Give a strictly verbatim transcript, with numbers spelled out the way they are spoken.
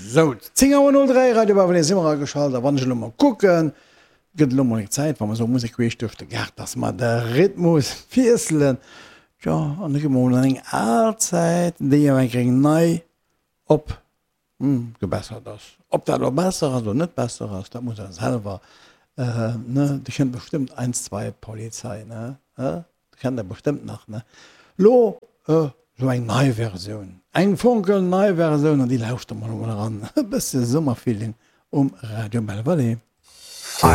Sou, zéng Auer null dräi, Radio Bauwelé si mer ageschalt a wann ech elo mol kucken, gëtt elo mol eng Zäit, wa mer esou Musek queesch duerch de Gaart, dass mer de Rhythmus wiesselen. Tjo, an da gi mer mol an eng al Zäit, déi awer eng Kéier nei op gebessert ass. Ob dat elo besser ass oder net besser ass, dat muss der selwer, ne, Dir kennt bestëmmt Eins, zwei, Polizei, ne, dat kennt der bestëmmt nach, ne. Lo esou eng nei Versioun, eng fonkelnei Versioun an déi lauschtere mer elo mol eran, e bësse Summerfeeling um Radio Belval.